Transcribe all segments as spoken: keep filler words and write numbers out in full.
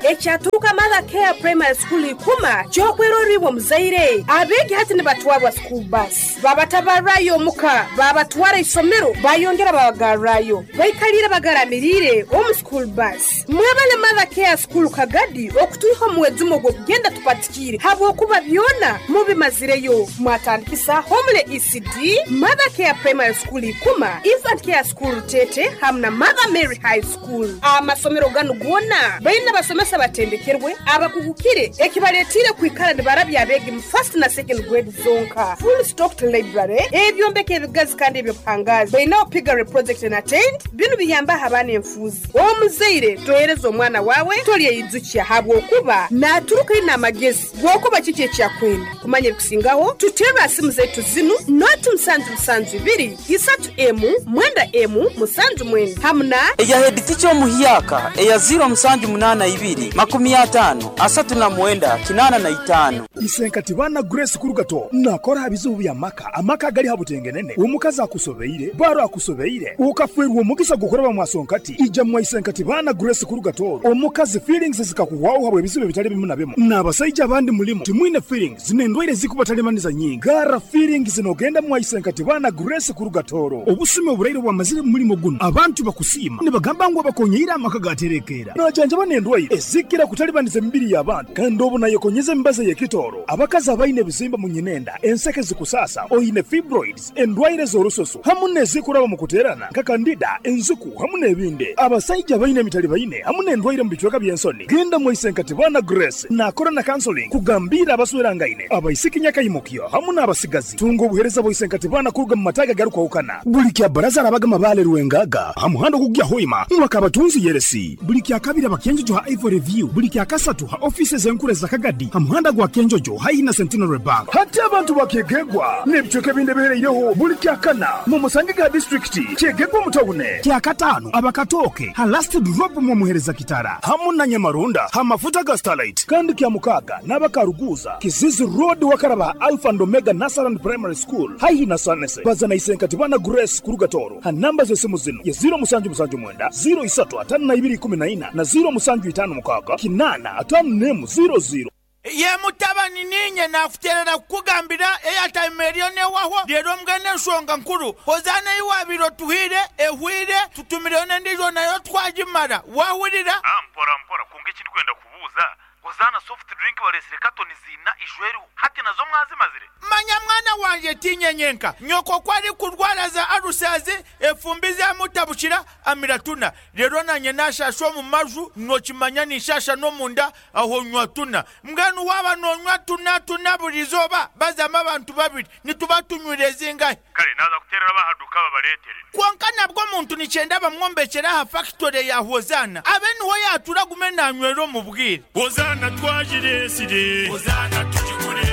Ekyaturuka Mother Care Primary School ikuma kyokweroribwa muzaire. Abegi hati nibatwarwa school bus. Babatabarayo muka, babatwara isomero, bayongera babagarrayo. Baikalira bagaramirire omu school bus. Mwebale Mother Care School Kagadi okutuiho muwezumo gw'okugenda tupatikire. Habwokuba byona mubimazireyo. Mwatandikisa Homele E C D, Mother Care Primary School ikuma, Infant Care School Tete, hamna Mother Mary High School. Amasomero ganu gona baina basomesa batendekerwe abakugukire ekibaletire kwikara nibarabya abegi mu first na second grade zonka. Full stocked library, ebyombeko ebigazi kandi ebyopangazi. Baina piggery project na tent, binu biyamba habana enfuzi. Omuzaire tohereza omwana wawe tolye yizukia habwokuba naturuka ina amagezi gwokuba kiki ekyakwenda. Kumanya ebikusingaho tutera simu zetu zinu noti musanju musanju ibiri isatu emu mwenda emu musanju mwenda hamna eya head teacher omuhiyaka eya zero musanju munana ibiri makumi atano asatu na mwenda kinana na itano. Isenkati bana Grace Kurugato nakora bizubu bya maka amaka gali habutengenene omukazi akusobeire baro akusobeire ukafwerwa omugisa gukoraba mwasonkati ija mwa Isenkati bana Grace Kurugato omukazi feelings zikakuwaho habwe bizubu bitali bimu na bimu n'abasajja abandi mulimo timwine feelings zinendwaire zikubatalemaniza nyingi gara feelings zinogenda mwa Isenkati bana Grace Kurugatoro obusime oburaire bwamazire mulimo guno abantu bakusima nibagamba ngo bakonyeira amaka gaterekera najanja banendwaire ezikira kutalibaniza emibiri y'abantu kandi obu nayekonyeza embaza y'ekitoro abakazi abaine ebizimba mu nyinenda enseke zikusasa oyine fibroids endwaire z'orusoso hamu n'ezikuraba mu kuterana nka kandida enzuku hamu n'ebindi abasajja baine emitali baine hamu n'endwaire mu bicweka by'ensoni genda mu Isenkati bana Grace nakora na counseling kugambira abaswerangaine abaisiki nyakayimukyo hamu n'abasigazi tunga obuhereza bwa Isenkati bana kuruga mu mataga garukwahukana buli kya baraza arabaga mabale ruwengaga hamuhando kugya hoima mwakabatunzi yeresi buli kya kabiri abakenjojo ha Ivory View buli kya kasatu ha offices enkure za Kagadi hamuhanda gwa Kenjojo haina Centenary Bank hati abantu bakegegwa n'ebicweka ebindi bihereireho buli kya kana mu Musangiga district kyegegwa mutawune kya katano abakatoke ha last drop mu muhereza kitara hamu na Nyamarunda ha mafuta ga Starlight kandi kya mukaga n'abakaruguza Kizizi Road wakaraba Alpha and Omega Nasaran Primary School haihi na Sanese bazana Isenkati bana Grace Kurugatoro ha namba z'esimu zino ya zero musanju musanju mwenda zero isatu atano na ibiri kumi na ina na zero musanju itano mukaga kinana atano nemu zero zero. Ye mutabani ninye nakuterera kukugambira airtime eriyo newaho rero mbwene ensonga nkuru hozana iwabiro tuhire ehwire tutumireyo n'endijo nayo twagimara wahurira mpora mpora kunga ekindi kwenda kubuuza Hozana soft drink balesire katoni zina ijweru hati nazo mwazimazire manya mwana wanje tinyenyenka nyoko kwari kurwara za arusazi efumbi za mutabukira amiratuna rero nanye nashasho mu maju nokimanya nishasha no munda aho nywa tuna mbwenu waba nonywa tuna tuna burizoba bazama abantu babiri nituba tunywire zingahe kale naza kuterera bahaduka babaletere konka nabwo muntu nicyenda bamwombekera ha factory ya Hozana abe niho yatura gume nanywero mu bwire Hozana twajiresire Hozana tujigure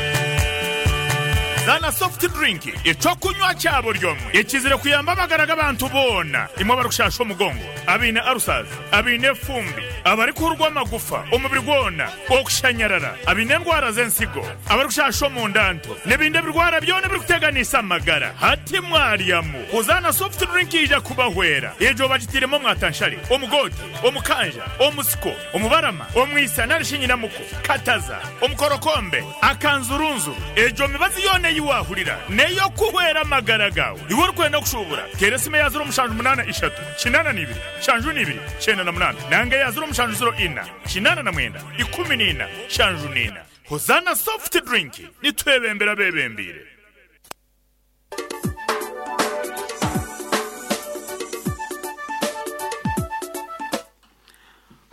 Zana soft drink ecokunywa cyabo ryomwe ekizire kuyamba amagara abantu bona imwe barushasha omugongo abine arusazi abine fumbi abari kurwa amagufa umubiri gwona okushanyarara abine ndwara z'ensigo abari kushasha omundanto n'ebindi birwara byona biri kuteganisa amagara hati mwaryamu Hozana soft drink ija kubahwera ejo bagitiremo mwatanshari omugoti omukanja omusiko omubarama omwisa narishinyinamuko kataza omukorokombe akanzurunzu ejo mibazi yone yiwahurira neyo kuhwera amagara gawe iwe urikwenda kushubura teresime ya zero mushanju munana ishatu kinana nibiri shanju nibiri chenda na munana nange ya zero mushanju zero ina kinana na mwenda ikumi nina shanju nina. Hozana soft drink nitwebembera bebembire.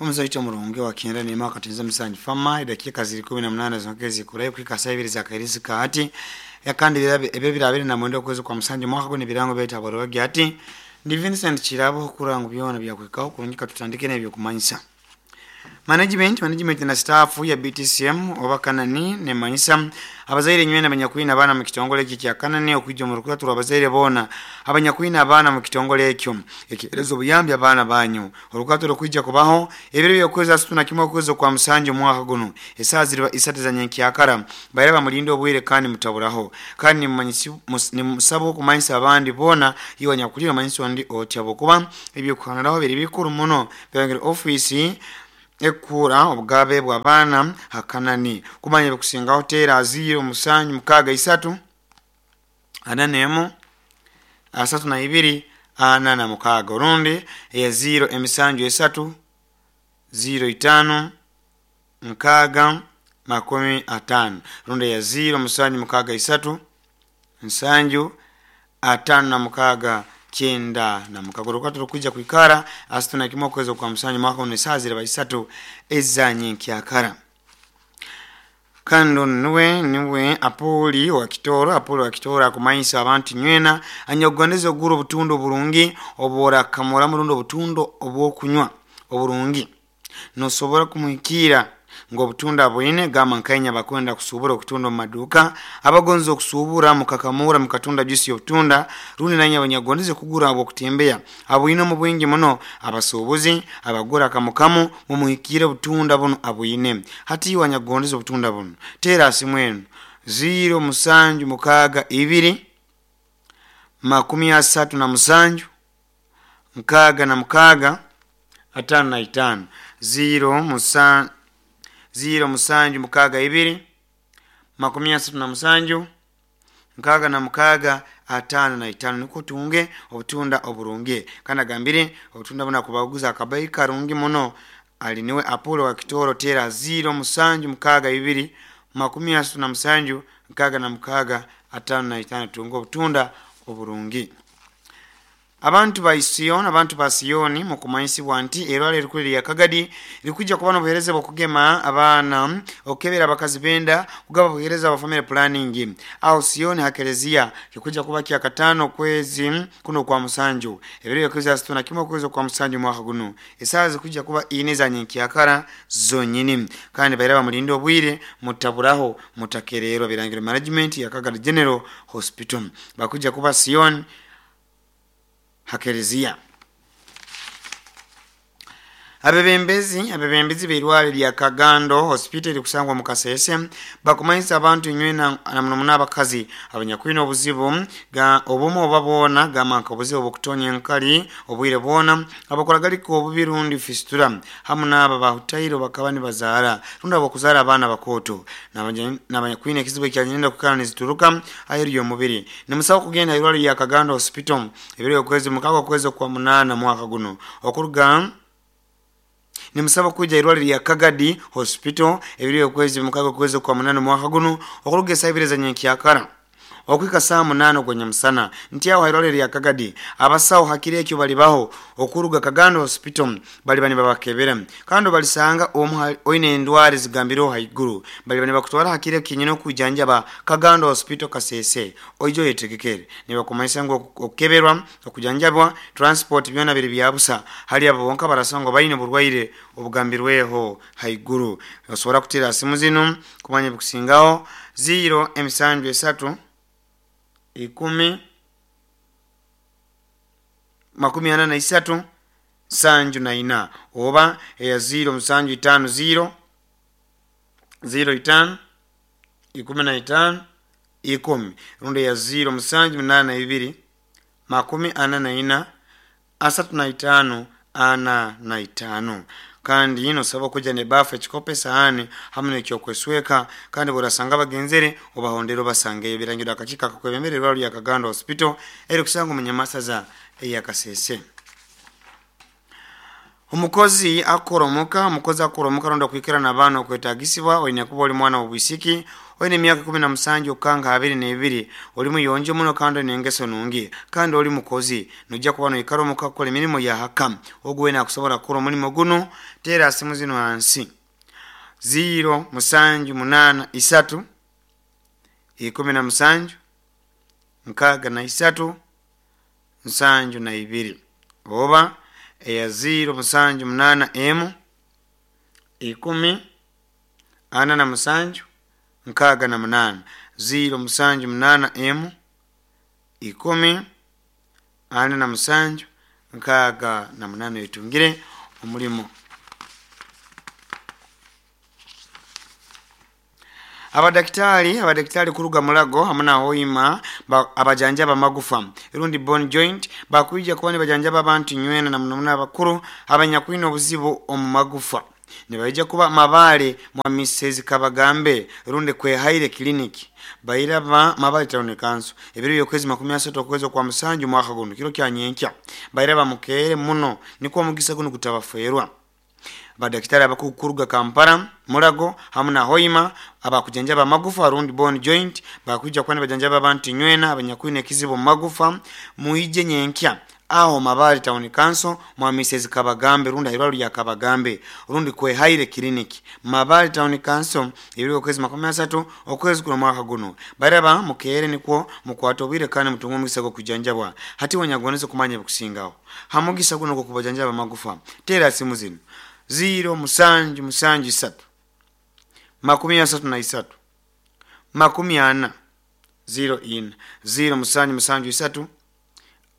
Omuzaito murungi wa kenda ni mwaka tinza msanji fama dakika zili kumi na mnane zongezi kurai kika saibiri za kairisi kaati ya kandi ebe birabiri na mwendo kwezi kwa msanji mwaka kuni birango beta barogi ati ndi Vincent Chirabo kurangu byona bya kwikao kurungika tutandike n'ebyo kumanyisa Management management na staff ya B T C M oba Kanani ne manyisa abazaire nywena abanyakwina abana mu kitongole iki kya Kanani okujja mu rukaturo abazaire bona abanyakwina abana mu kitongole ekyo ekirezo buyambi abana banyu orukaturo kujja kubaho ebiro byokweza situna kimwe okwezo kwa msanjo mwaka guno esaazirwa isate za nyenkyakara bayira bamulindo obwire kandi mutaburaho kandi mumanyisi ni musabo kumanyisa abandi bona iwa nyakulira manyisi wandi otya bokuba ebyo kuhaniraho biri bikuru muno byangere office ekura obugabe bw'abaana hakanani kumanya bikusingaho tera ziro musanju mukaaga isatu ana nemu asatu na ibiri ana na mukaaga orundi eya ziro emisanju esatu ziro itano nkaaga makumi atano rundi eya ziro musanju mukaaga isatu nsanju atano na mukaaga kyenda na mukaaga orukwato rukwija kwikara asatu na kimwe okwezi kwa musanju mwaka uno esaaha ziraba isatu ezanyenkyakara. Kando niwe niwe Apoli wa Kitoro. Apoli wa Kitoro akumanyisa abantu nywena anyogondeza ogura obutundo oburungi obora kamora murundo obutundo obwokunywa oburungi nosobora kumuhikira ngo obutunda bwine gama nkainya bakwenda kusubura okutunda mu maduka abagonza okusubura mukakamura mukatunda juice y'obutunda rundi nanya abanyagondeze kugura abo kutembea abwine mu bwingi muno abasubuzi abagura kamukamu mumuhikire obutunda buno abwine hati wanyagondeze obutunda buno tera simwenu ziro musanju mukaaga ibiri makumi asatu na musanju nkaaga na mukaaga atano na itano ziro musanju ziro musanju mukaaga ibiri makumi asatu na musanju nkaaga na mukaaga atano na itano niko tunge obutunda oburungi kandi agambire obutunda buna kubaguza akabai karungi muno ali niwe Apollo wa Kitoro tera ziro musanju mukaaga ibiri makumi asatu na musanju nkaaga na mukaaga atano na itano tunge obutunda oburungi. Abantu ba Sion, abantu ba Sioni mukumanyisibwa nti erwala erikuli lya Kagadi likujja kuba n'obuheereza bw'okugema abaana okukebera abakazi benda kugaba buheereza bwa family planning aho Sioni hakelezia kikujja kuba kya katano kwezi kuno kwa musanju ebiro byokwezi asatu na kimwe kwezi kwa musanju mwaka guno esaaha zikujja kuba ine za nyenkyakara zonyini kandi bairaba mulinde obwire mutaburaho mutakererwa birangiro management ya Kagadi General Hospital bakujja kuba Sion hakelezia. Abebembezi abebembezi beirwale lya Kagando Hospital kusangwa mu Kasese bakumanyisa abantu nywena na muno abakazi abanyakwina obuzibu ga obumu obabona gamanka obuzibu obukutonya enkali obwire bona abakora galiko obubirundi fistula hamu n'aba bahutairo bakaba nibazaara runda abokuzara abaana bakoto n'abanyakwina ekizibu ekyanyenda kukana nizituruka aheru y'omubiri nimusaba kugenda irwale lya Kagando Hospital ebiro okwezi mukaaga okwezi kwa munana mwaka guno okuruga nimusaba kuja irwaliro lya Kagadi Hospital ebiro okwezi mukaaga okwezi kwa munana mwaka guno okuruga esaaha nyenkyakara okwika saa munana gwanyamusana nti aho irwaliro lya Kagadi abasawo hakiri ekyo balibaho okuruga Kagando Hospital bali bani babakebera kandi balisanga omu oine endwara zigambiro haiguru bali bani bakutwara hakiri kinyino kujanjaba Kagando Hospital Kasese oijo yetegekere nibakumanyisa ngo okukeberwa okujanjabwa transport byona biri byabusa hali abo bonka barasanga bayine burwaire obugambirweho haiguru osobola kutera simu zino kumanya bikusingaho ziro emisanju esatu ikumi makumi ana na isatu sanju na ina oba eya ziro musanju itano ziro ziro itano ikumi na itano ikumi rundi ya ziro musanju munana na ibiri makumi ana na ina asatu na itano ana na itano kandi ino saba kuja ne bafu ekikope sahani hamwe n'ekyokwesweka kandi burasanga bagenzere obahondero basangeyo birangira akakika akakwebembere rwalo ya Kagando Hospital eri kusanga umunyamasaza eya Kasese. Omukozi akoromoka omukozi akoromoka ronda kwikira n'abaana okwetagisibwa oine kuba oli mwana w'obwisiki oine emyaka kumi na musanju okukanga abiri n'ebiri oli muyonjo muno kandi oine engeso nungi kandi oli mukozi nojja kuba noikara omuka kukola emirimu ya haka ogu wena akusobola kukora omulimu guno teera simu zino hansi ziro musanju munana isatu ikumi na musanju nkaaga na isatu nsanju na ibiri oba eya ziro musanju munana emu ikumi ana na musanju nkaaga na munana ziro musanju munana emu ikumi ana na musanju nkaaga na munana etungire omulimu. Abadaktari abadaktari kuruga mulago hamwe na hoima abajanjaba magufa irundi bone joint bakuija kuba nibajanjaba abantu nywena na muno abakuru abanyakwina obuzibu omu magufa Nibaija kuba Mabale mwa Misezi Kabagambe rundi Kwehaire Clinic bairaba Mabale Town Council ebiro byokwezi makumi asatu okwezi kwa musanju mwaka guno kiro kya nyenkya bairaba mukeere muno nikwo omugisa guno gutabaferwa. Badakitari abakukuruga Kampala, Mulago hamu na Hoima abakujanjaba amagufa rundi bone joint bakuja kwani bajanjaba abantu nywena abanyakwine kizibu magufa muije nyenkya aho Mabale Town Council mwa Misezi Kabagambe rundi irwalo lya Kabagambe rundi Kwehaire Clinic Mabale Town Council ebiro kwezi makumi asatu okwezi kuno mwaka guno baraba mukeere nikwo mukwata obwire kandi mutunga omugisa gw'okujanjabwa. Hati wanyagoneze kumanya bikusingaho hamugisa guno gw'okubajanjaba amagufa tera simu zino ziro musanju musanju isatu makumi asatu na isatu makumi ana ziro ina ziro musanju musanju isatu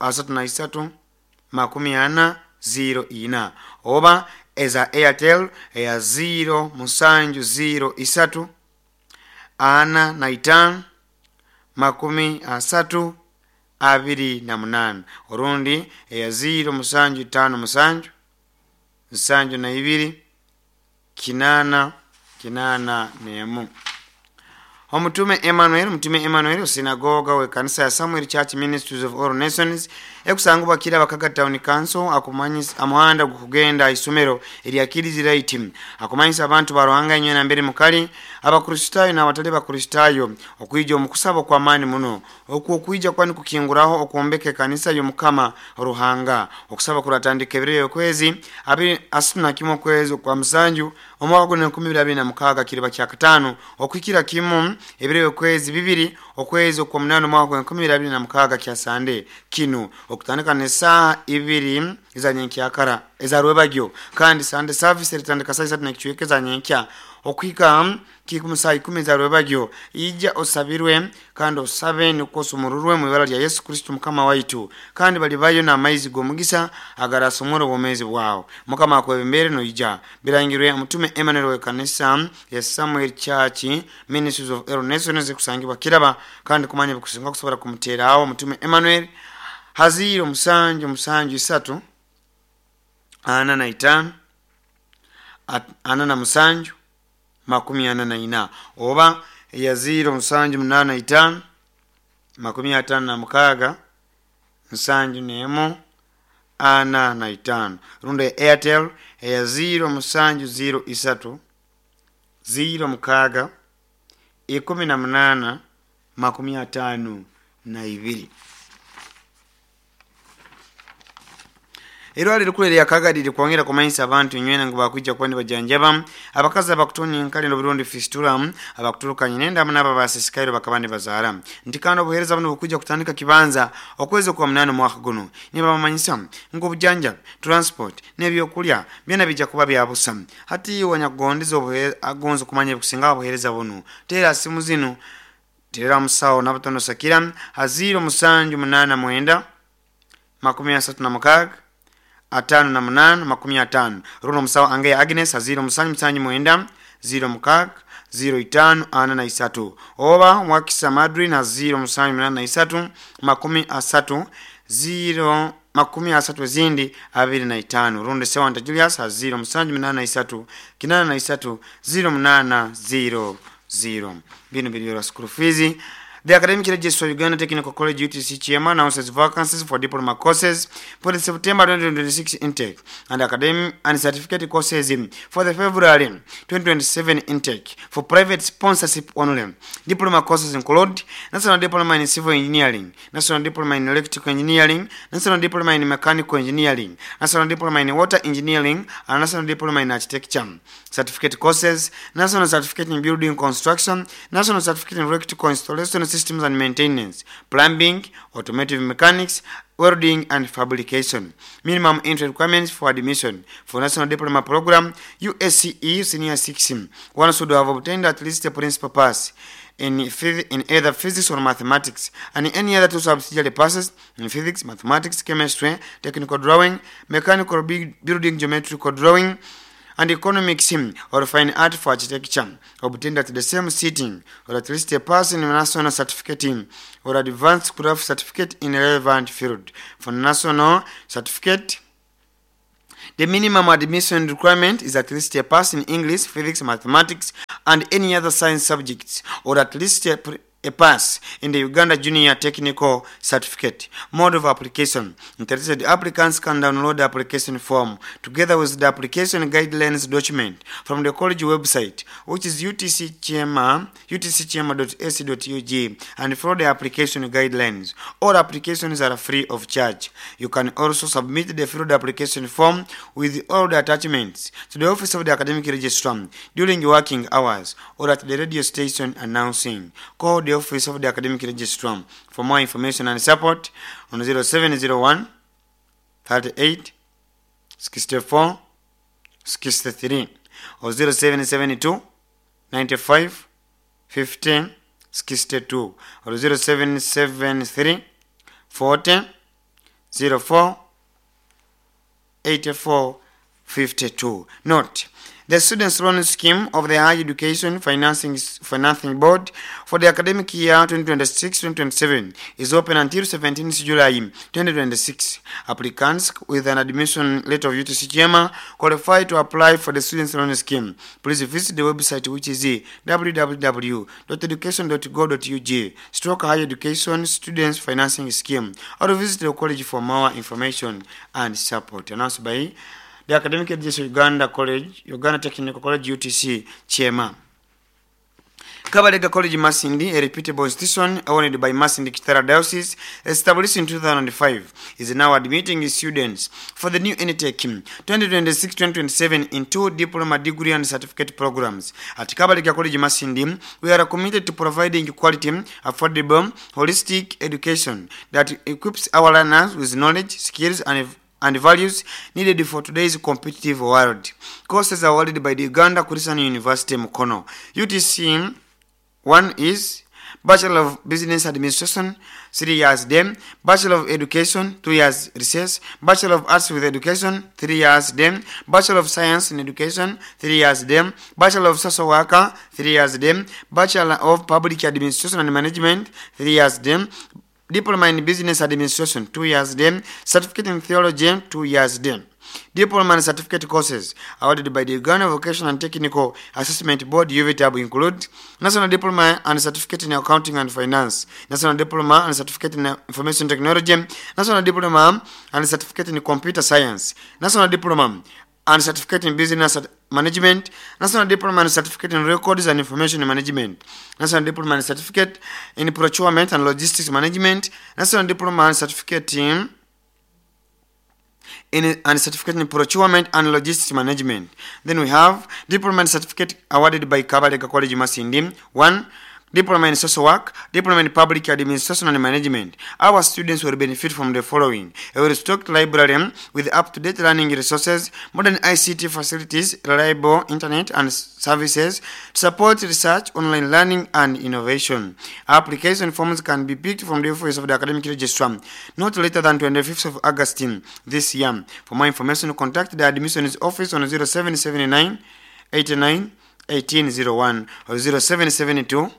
asatu na isatu makumi ana ziro ina oba eza Airtel eya ziro musanju ziro isatu ana na itano makumi asatu abiri na munana orundi eya ziro musanju itano musanju nsanju na ibiri kinana kinana nemu. Omutume Emmanuel Mutume Emmanuel sinagoga we kanisa ya Samuel Church Ministries of All Nations ekusangibwa kira Bakaga Town Council akumanyisa amuhanda gukugenda isomero erya Kiriziraiti akumanyisa abantu baruhanga nywena mbere mukali abakristayo n'abatali bakristayo okuija omukusaba kwa maani muno okwo okuija kwani kukinguraho okwombeka kanisa y'Omukama Ruhanga. Okusaba kuratandika ebiro okwezi abiri asuna kimwe okwezi kwa musanju omwaka guno enkumi ibiri abiri na mukaaga kiriba kya katano okwikira kimu ebiro okwezi bibiri okwezi kwa munano mwaka enkumi ibiri abiri na mukaaga kya Sande kino okutandika n'esaaha ibiri eza nyenkyakara eza rwebagyo kandi Sunday service eritandika saa isatu n'ekicweka eza nyenkya okwika kikumu saa ikumi za rwebagyo. Ija osabirwe kandi osabe nikwo osumururwe mu ibara lya Yesu Kristo Mukama waitu kandi balibayo n'amaizi g'omugisa agarasumura obwomezi bwawe. Mukama akwebembere noija. Birangirwe Mutume Emmanuel we kanisa ya Samuel Church Ministries of All Nations kusangibwa Kiraba kandi kumanya bikusinga kusobora kumuterawo Mutume Emmanuel haziro musanju musanju isatu ana na itano ana na musanju makumi ana na ina oba ya ziro musanju munana itano makumi atano na mukaaga nsanju nemu ana na itano rundi ya Airtel ya ziro musanju ziro isatu ziro mukaaga ikumi na munana makumi atano na ibiri. Irwaliro rikuru erya Kaga riri kwongera kumanyisa abantu nywena ngu bakwija kwani bajanjaba abakazi abakutonya enkali n'oburundi fistula abakuturukanye n'endamu n'abo abasisikaire bakaba nibazaara nti kandi obuheereza buno bukwija kutandika kibanza okwezi kwa munana omwaka guno. Nibabamanyisa ngu obujanjabi transport n'ebyokulya byona bijja kuba bya busa. Hati wanyakugondeza agonza okumanya ebikusinga obuheereza buno teera simu zino teera musawo n'abatono sakira haziro musanju munana mwenda makumi asatu na mukaaga atano na munana makumi atano runo musawo ange Agnes aziro musanju musanju mwenda ziro mukaaga ziro itano ana na isatu oba mwakisa Madrid na ziro musanju munana na isatu makumi asatu ziro makumi asatu zindi abiri na itano rundi sewanta Julius aziro musanju munana na isatu kinana na isatu ziro munana ziro ziro. Bino biri school fees. The Academic Registrar of Uganda Technical College U T C Chairman announces vacancies for diploma courses for the September twenty twenty-six intake and academic and certificate courses for the February twenty twenty-seven intake for private sponsorship only. Diploma courses include National Diploma in Civil Engineering, National Diploma in Electrical Engineering, National Diploma in Mechanical Engineering, National Diploma in Water Engineering, and National Diploma in Architecture. Certificate courses, National Certificate in Building Construction, National Certificate in Electrical Installation Systems and Maintenance, Plumbing, Automotive Mechanics, Welding and Fabrication. Minimum entry requirements for admission for National Diploma Program U S C E Senior six. One should have obtained at least a principal pass in, in either physics or mathematics and any other two subsidiary passes in physics, mathematics, chemistry, technical drawing, mechanical building, geometrical drawing, and economics or fine art for architecture obtained at the same sitting, or at least a pass in national certificate or advanced craft certificate in relevant field. For national certificate The minimum admission requirement is at least a pass in English, physics, mathematics, and any other science subjects, or at least a, pre- a pass in the Uganda Junior Technical Certificate. Mode of application. Interested applicants can download the application form together with the application guidelines document from the college website, which is utcchema, utcchema.ac.ug, and follow the application guidelines. All applications are free of charge. You can also submit the filled application form with all the attachments to the office of the academic registrar during working hours or at the radio station announcing. Call the office of the academic registrar for more information and support on zero seven zero one thirty-eight sixty-four sixty-three or zero seven seven two ninety-five fifteen sixty-two or zero seven seven three forty zero four eighty-four fifty-two. Note, the Students' Loan Scheme of the Higher Education Financing, Financing Board for the academic year twenty twenty-six twenty twenty-seven is open until seventeenth July twenty twenty-six. Applicants with an admission letter of U T C Kyema qualify to apply for the Students' Loan Scheme. Please visit the website, which is w w w dot education dot gov dot u g stroke higher education students financing scheme, or visit the college for more information and support. Announced by the Academic Education Uganda College, Uganda Technical College U T C Kyema. Kabalega College Masindi, a reputable institution owned by Masindi Kitara Diocese, established in two thousand five, is now admitting students for the new intake twenty twenty-six twenty twenty-seven in two diploma, degree and certificate programs. At Kabalega College Masindi, we are committed to providing quality, affordable, holistic education that equips our learners with knowledge, skills and and values needed for today's competitive world. Courses awarded by the Uganda Christian University Mukono. U T C one is Bachelor of Business Administration, three years then, Bachelor of Education, two years recess, Bachelor of Arts with Education, three years then, Bachelor of Science in Education, three years then, Bachelor of Social Worker, three years then, Bachelor of Public Administration and Management, three years then, Diploma in Business Administration, two years then, Certificate in Theology, two years then. Diploma and certificate courses awarded by the Uganda Vocational and Technical Assessment Board U V T A B include National Diploma and Certificate in Accounting and Finance, National Diploma and Certificate in Information Technology, National Diploma and Certificate in Computer Science, National Diploma and Certificate in Business Management, National Diploma and Certificate in Records and Information Management, National Diploma and Certificate in Procurement and Logistics Management, National Diploma and Certificate in, in and Certificate in Procurement and Logistics Management. Then we have Diploma and Certificate awarded by Kabalega College Masindi. One, Diploma in Social Work, Diploma in Public Administration and Management. Our students will benefit from the following: a well-stocked library with up-to-date learning resources, modern I C T facilities, reliable internet and services to support research, online learning and innovation. Application forms can be picked from the office of the academic registrar not later than twenty-fifth of August this year. For more information, contact the admissions office on zero seven seven nine, eight nine, eighteen zero one or zero seven seven two,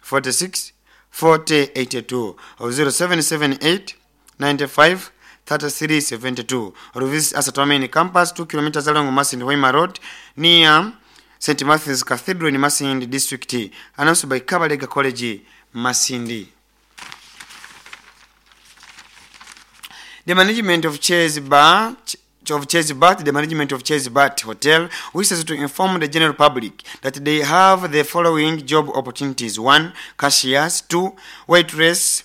forty-six, forty, eighty-two or zero seven seven eight, ninety-five, thirty-three, seventy-two, or visit us at our main campus, two kilometers along Masindi Hoima Road, near Saint Matthew's Cathedral in Masindi District. Announced by Kabalega College, Masindi. The management of Chase Bar of Chase Bat, the management of Chase Bat Hotel wishes to inform the general public that they have the following job opportunities: one, cashiers; two, waitress,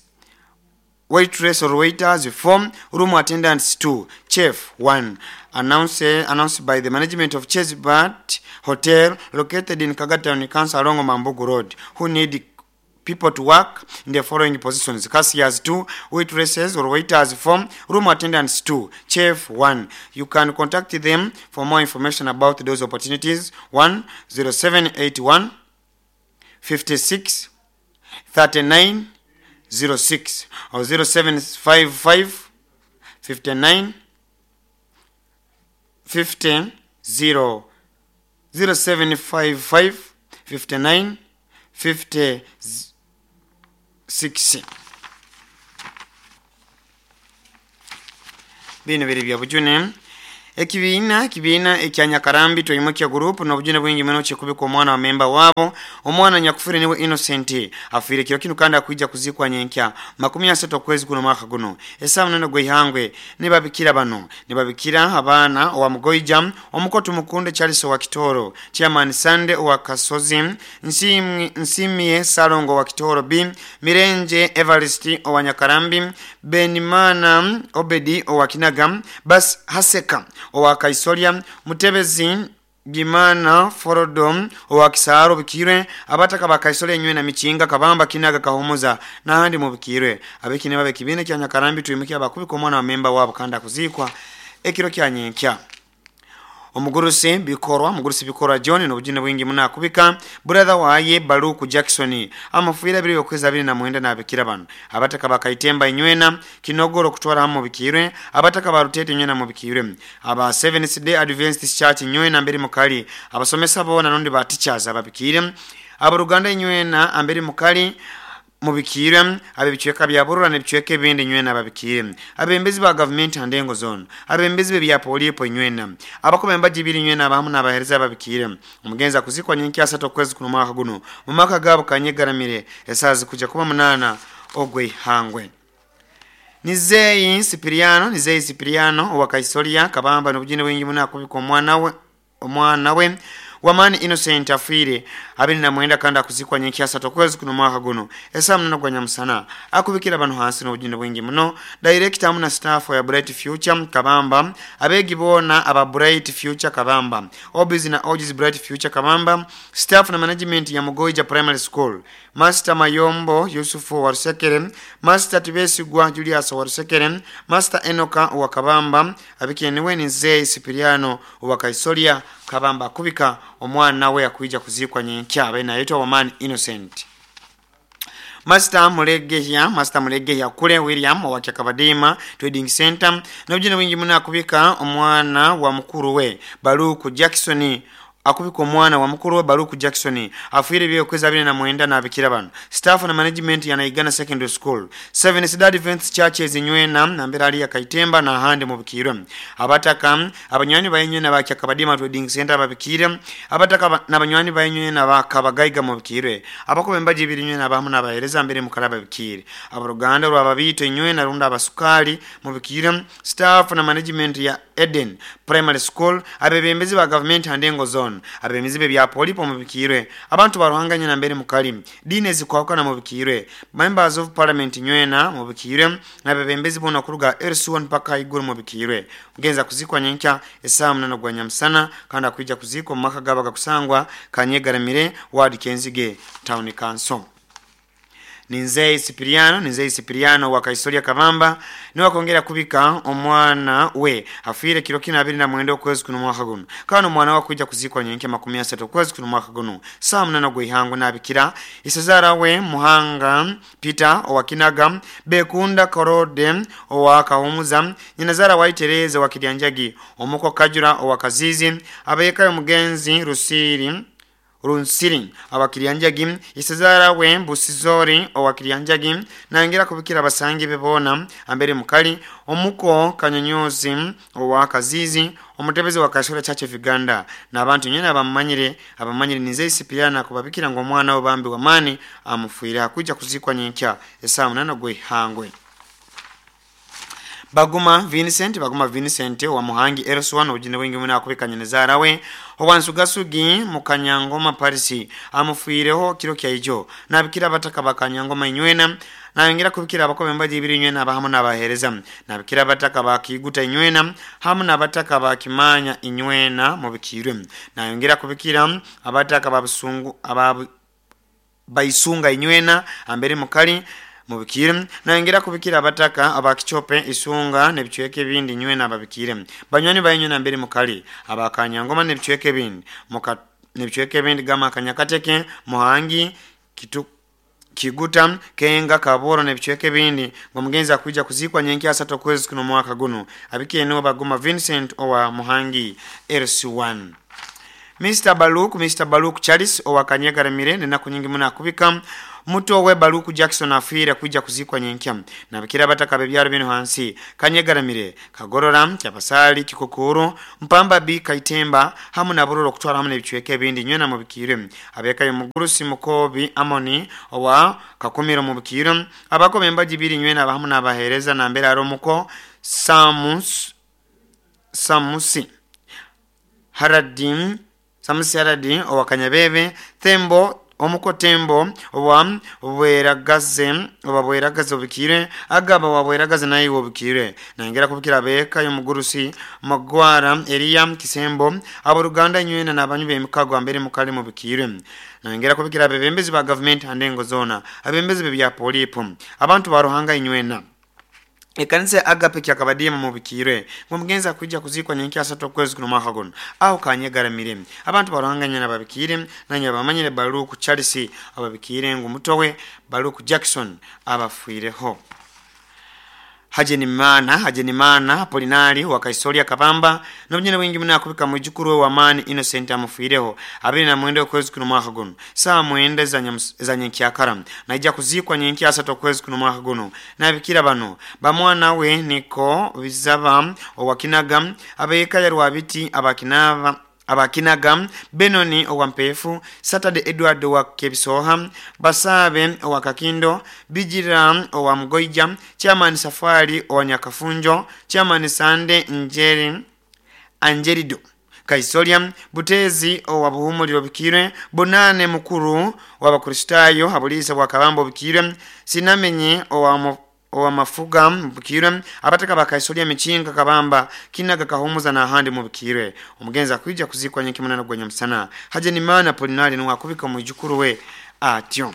waitress or waiters; four, room attendants; two, chef; one. Announced, announced by the management of Chase Bat Hotel, located in Kaga Town Council along Mambugu Road, who need people to work in the following positions: cashiers two, waitresses or waiters four, room attendants two, chef one. You can contact them for more information about those opportunities. one zero seven eight one fifty-six thirty-nine zero six or zero seven five five fifty-nine fifteen zero zero seven five five fifty-nine fifty six. Bino biri bya bujune. Ekibiina kibiina ekya Nyakarambi Twimukia Group n'obujune bwingi muno kikubika omwana wa memba wabo omwana nyakufire niwe Innocent afire kiro kino kandi akuija kuzikwa nyenkya makumi asatu okwezi kuno mwaka guno esaa munana gw'eihangwe. Nibabikira bano nibabikira abaana owa Mugoija omukoto Mukunde Charles owa Kitoro, Chairman Sande owa Kasozi, Nsimie Nsimie Salongo wa Kitoro B, Mirenje Everest owa Nyakarambi, Benimana Obedi owa Kinaga, Bas Haseka owa Kaisoria, Mutebezi Gimana Forodom owa Kisaro Bikirwe, abataka ba Kaisoria nywe na Michinga Kabamba Kinaga Kahomoza n'ahandi mu Bikirwe. Abekine babe kibine kya Nyakarambi Twimukia abakubika omwana wa memba wabo kandi akuzikwa ekiro kya nyenkya. Omugurusi bikorwa mugurusi bikorwa John n'obujune bwingi muno akubika brother waye Baluku Jackson amafuira biri okwezi abiri na mwenda n'abikira bano abataka bakaitemba inywena Kinogoro kutwara hamwe Bikirwe, abataka barutete inywena mu Bikirwe, aba Seventh Day Adventist Church inywena mbere mukali, abasomesa bona nundi ba teachers ababikire, abaruganda inywena ambere mukali mubikire, abe bicweka bya Burura n'ebicweka ebindi nywena babikire, abembezi ba government andengo zone, abembezi be bya polipo nywena, abakombe mbajibiri nywena abamu n'abahereza babikire. Omugenzi akuzikwa nyenkya asatu okwezi kuno mwaka guno mu maka gabo Kanyegaramire esazi kuja kuba munana ogw'eihangwe. Nizeyi Sipiriano Nizeyi Sipiriano owa Kaisoria Kabamba n'obujune bwingi muno akubika omwana we omwana we Wamani Innocent afire abiri na mwenda kandi akuzikwa nyenkya asatu okwezi kuno mwaka guno esaa munana gwa nyamusana. Akubikira bano hansi n'obujune bwingi muno director amu na staff ya Bright Future Kabamba, abegi bona aba Bright Future Kabamba, Obizi na Ojis Bright Future Kabamba, staff na management ya Mugoija Primary School, Master Mayombo Yusufu wa Rusekere, Master Tibesigwa Julius wa Rusekere, Master Enoka wa Kabamba, abikeniwe ni Nzeyi Sipiriano wa Kaisoria Kabamba akubika omwana we akuija kuzikwa nyenkya abe nayetwa Wamani Innocent. Master Mulegehya Master Mulegehya kule William wa Kyakabadima Trading Center n'obujune bwingi muno akubika omwana wa mukuru we Baluku Jackson akubika omwana wa mukuru we Baluku Jackson afuire byokwezi abiri na mwenda n'abikira bano staff na management ya Naigana Secondary School, Seventh Day Adventist Churches nywena nambera ali ya Kaitemba na handi mu Bikirwe, abataka abanywani bayenywena ba Kyakabadima Trading Center babikire, abataka n'abanywani bayenywena ba Kabagaiga mu Bikirwe, abakobe mbaji ibiri nywena abamu n'abahereza mbere mu Karaba Bikire, abaruganda rw'ababito nywena runda abasukali mu Bikirwe, staff na management ya Eden Primary School, abebembezi ba government andengo zone, abebembezi bya polipo mu Bikirwe, abantu baruhanganye na mbere mukali dine zikwakana mu Bikirwe, members of parliament nywena mu Bikirwe, n'abebembezi bona kuruga L C one paka iguru mu Bikirwe. Mugenza kuzikwa nyenkya esaa munana gwa nyamusana kandi akuija kuzikwa mu maka gaba gakusangwa Kanyegaramire ward Kenzige Town Council. Ninzeyi Sipiriano Ninzeyi Sipiriano wa Kaisoria Kabamba niwe akongera kubika omwana we afire kiro kina abiri na mwenda okwezi kuno mwaka guno kandi omwana we akuija kuzikwa nyenkya makumi asatu okwezi kuno mwaka guno saa munana gw'eihangwe n'abikira isezara we Muhanga Peter owa Kinaga, Bekunda Korode owa Kahumuza, nyinazara wa Tereza wa Kiryanjagi, omuko Kajura owa Kazizi, abeyekayo mugenzi Rusiri Runsiri abakiryanjagi, isezara we Busizori owakiryanjagi, nangera kubikira abasangi bebona ambere mukali omuko Kanyonyozi owa Kazizi, omutebezi wa Kashura Church of Uganda n'abantu nyene abamanyire abamanyire Nizeyi Sipiriano kubabikira ngo omwana we bambi wamani amufuire akuja kuzikwa nyenkya esaa munana gw'eihangwe. Baguma Vincent Baguma Vincent wa Muhangi L C one obujune bwingi muno akubika nyinazara we owansugasugi mu Kanyangoma Paris amufuireho kiro kya ijo nabikira abataka bakanyangoma inywena nayongera kubikira abakobe mbaji ibiri inywena abahamu n'abahereza nabikira abataka bakiguta inywena hamu n'abataka bakimanya inywena mu Bikirwe, nayongera kubikira abataka babusungu ababu baisunga inywena ambere mukali mubikire, nayongera kubikira abataka abakichope isunga n'ebicweka ebindi nywena ababikire, banywani bayenywena mbere mukali abakanyangoma n'ebicweka ebindi muka n'ebicweka ebindi gama Kanyakateke Muhangi Kitu Kiguta Kenga Kaboro n'ebicweka ebindi ngomugenzi akuija kuzikwa nyenkya asatu okwezi kuno mwaka guno abikire niwe Baguma Vincent owa Muhangi L C one. Mister Baluk Mister Baluk Charles owakanyegaramire nenaku nyingi muno akubika muto we Baluku Jackson afiire kwijja kuzikwa nyenkya nabikira abataka bebyalo bino hansi Kanyegaramire, Kagorora, Kyabasali, Kikukuru, Mpamba B, Kaitemba hamu na Bururo kutwala hamu n'ebicweka ebindi nywena mubikire. Abekayo Mugurusi Mukobi Amoni owa Kakumiro mubikire, abako bembaji biri nywena abahamu n'abahereza nambere aromuko Samus Samusi Haradim Samusi Haradim owa Kanyabebe Tembo omuko Tembo owa Bweragaze owa Bweragaze obikire, Agaba wa Bweragaze naye obikire. Nangera kubikira abeka y'omugurusi Magwara Elia Kisembo aboruganda nywena n'abanyu b'emikago ambere mukali mubikire. Nangera kubikira abebembezi ba government andengo zona, abembezi bya polipo, abantu ba Ruhanga inywena. Ekanisa ya Agape kyakabadimu mubikire ngumugenza kujja kuzikwa nyenki asatu okwezi kuno mwaka guno aho Kanyegaramire. Abantu baruhanganya nababikire nanya bamanyire Baluku Charles ababikire ngumutowe Baluku Jackson abafuireho. Hajenimana Hajenimana Polinari wa Kaisoria Kabamba n'obunyene bwingi muna akubika mujukuru wa Mani Innocent amufuireho abiri na mwenda okwezi kuno mwaka guno saa mwenda za nyenkyakara naija kuzikwa nyenki asatu okwezi kuno mwaka guno. Nabikira bano bamwana we niko bizaba owakinaga abeka ya Rwabiti abakinava abakinaga Benoni owampefu Saturday Edward wa Kebisoha Basabe owa Kakindo Bijira owa Mgoija Chairman Safari owa Nyakafunjo Chairman Sande Njeri Anjerido Kaisoria Butezi owa Buhumuliro Bikire Bonane mukuru w'Abakristayo Habulisa wa Kabambo Bikire Sinamenye owa owa Mafuga mubikire abataka bakaisolia Michinga Kabamba Kinaga Kahumuza na ahandi mubikire. Omugenzi akwijja kuzikwa nyenki munana gwa nyamusana. Hajenimana Polinari nuwakubika mwijukuru we atyo.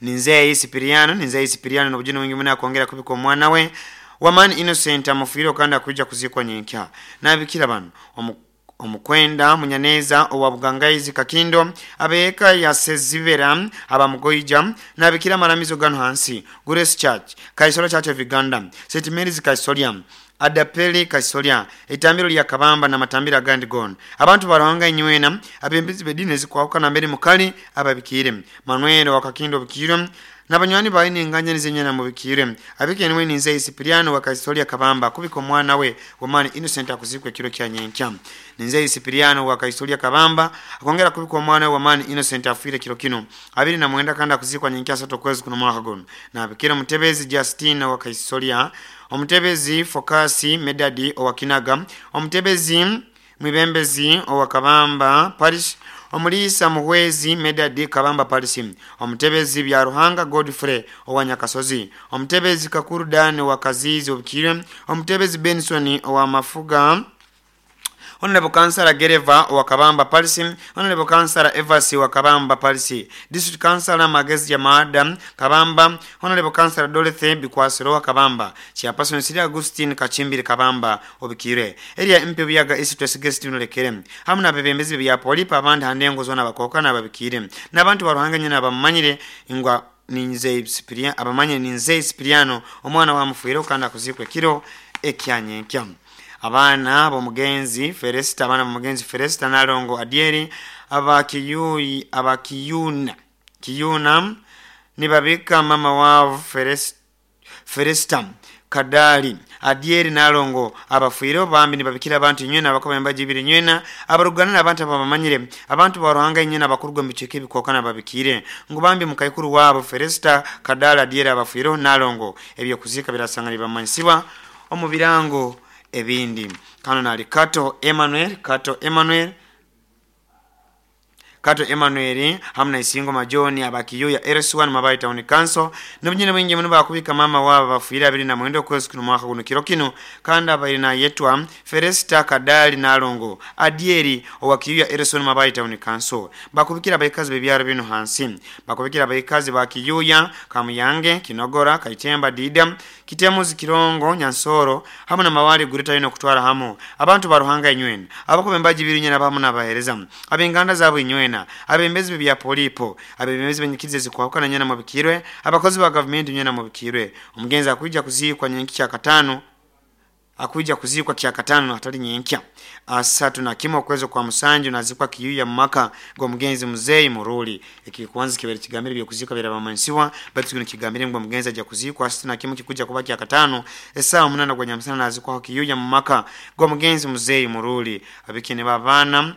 Ninzei Sipiriano Ninzei Sipiriano n'obujuni wingi muna akongera kubika omwana we Wamani Innocent amufiire kandi akwijja kuzikwa nyenkya. Nabikira bano omu omukwenda Munyaneza owa Bugangaizi Kakindo abeeka ya Sezibera abamugoija nabikira maramizo gano hansi Grace Church Kaisolo Church of Uganda Saint Mary's Kaisolia Adapeli Kaisolia itambiro lya Kabamba na matambiro agandi gona. Abantu baruhanga inywena abembezi bedine zikwauka na mbere mukali ababikire Manuel wa Kakindo bikire nabanywani baine nganya nizenyana mubikire abike niwe ninze Sipiriano wa Kaisolia Kabamba kubika omwana we Wamani Innocent akuzikwe kiro kya nyenkya. Ninze Sipiriano wa Kaisolia Kabamba akongera kubika omwana we Wamani Innocent afire kiro kino abiri na mwenda kanda akuzikwa nyenkya sato kwezi kuno mwaka guno. Na abikira mutebezi Justina wa Kaisolia, omutebezi Fokasi Medadi owa Kinaga, omutebezi Mwibembezi owa Kabamba Parish, omulisa Muhwezi Medadi Kabamba Parish, omutebezi bya Ruhanga Godfrey owa Nyakasozi, omutebezi Kakuru Dan wa Kazizi obukire, omutebezi Benson owa Mafuga, Honorable Councillor Gereva wa Kabamba Parish, Honorable Councillor Evasi wa Kabamba Parish, District Councillor Magezi Yamada Kabamba, Honorable Councillor Dorothy Bikwasiro wa Kabamba, Chairperson Siri Augustine Kachimbiri Kabamba obikire. Area M P Buyaga East West Guest Nolekere. Hamu na bebembezi bya polipa abandi handengo zona bakoka na babikire. N'abantu baruhanganye n'abamanyire ingwa Ninze Sipiriano abamanye Ninze Sipiriano omwana wa mufuiro kandi akuzikwe kiro ekyanyenkya. Abana bomugenzi Feresta abana bomugenzi Feresta Nalongo Adieri abakiyui abakiyuna kiyuna nibabika mama wao Feresta Feresta Kadali Adieri Nalongo abafuiro bambi nibabikira abantu nywena abakomba jibiri nywena abarugana n'abantu abamanyire abantu baruhanga nywena abakurwa mbicheke bikokana babikire ngo bambi mukaikuru wabo Feresta Kadali Adieri abafuiro Nalongo ebyo kuzika birasanga bamanyisiwa omubirango ebindi. Kano nali Kato Emmanuel Kato Emmanuel Kato Emmanuel hamna isingo majoni abakiyo ya R S one Mabayi Town Council n'obunyene bwingi muno bakubika mama wabo bafuira abiri na mwenda okwezi kuno mwaka guno kiro kino kandi abairi na yetwa Feresta Kadali Nalongo Adieri owakiyo ya R S one Mabayi Town Council bakubikira abaikazi bebyaro bino hansi bakubikira abaikazi bakiyuya Kamuyange Kinogora Kaitemba Dida Kitemuzi Kirongo Nyansoro hamwe na mawali gurita ino kutwara hamo abantu baruhanga inywena abakubembaji biri nyena bamu nabahereza abenganda zabo inywena abembezi bya polipo abembezi benyikirize zikwakana nyena mubikirwe abakozi ba government nyena mubikirwe omugenzi akwijja kuzikwa nyenki kya katano Akuija kuzikwa kyakatano hatali nyenkya asatu na kimwe okwezi kwa musanju nazikwa kiyuya mumaka gwa mugenzi muzeyi Muruli. Ekikwanza kibere kigambire byokuzikwa birabamansiwa, batu kino kigambire ngo mugenzi aja kuzikwa asatu na kimwe kikuja kuba kyakatano esawa munana gwa nyamusana, nazikwa kiyuya mumaka gwa mugenzi muzeyi Muruli. Abikine babana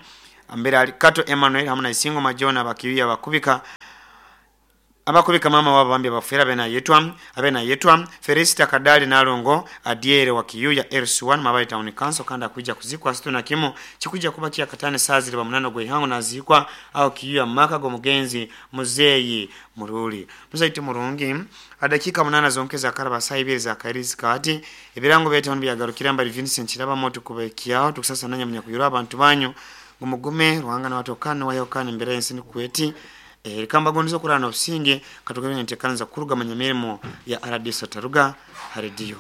ambere ali Kato Emmanuel hamwe na Isingo Majona bakiyuya bakubika abakubika mama wabo bambi bafera benayetwa abenayetwa Felicita Kadali Nalongo Adiere wa Kiyuya L C one Mabayi Town Council. Kandi akuija kuzikwa situ na kimo chikuja kuba kia katane saa zili ba munano gwe ihango, nazikwa au Kiyuya maka go mugenzi muzeyi Muruli. Muzaiti murungi, adakika munana zonke za karaba saa ibiri za kairizi kati ebirango betu byagarukira mbali Vincent Kiraba moto kubekiaho tukusasa nanya munyakuyura abantu banyu ngumugume ruhanga na watokana wayokana imbere y'ensi kweti rikamba gondizo kurana obusinge. Katugende ntekanza kuruga manyamirimo ya R D S Taruga harediyo.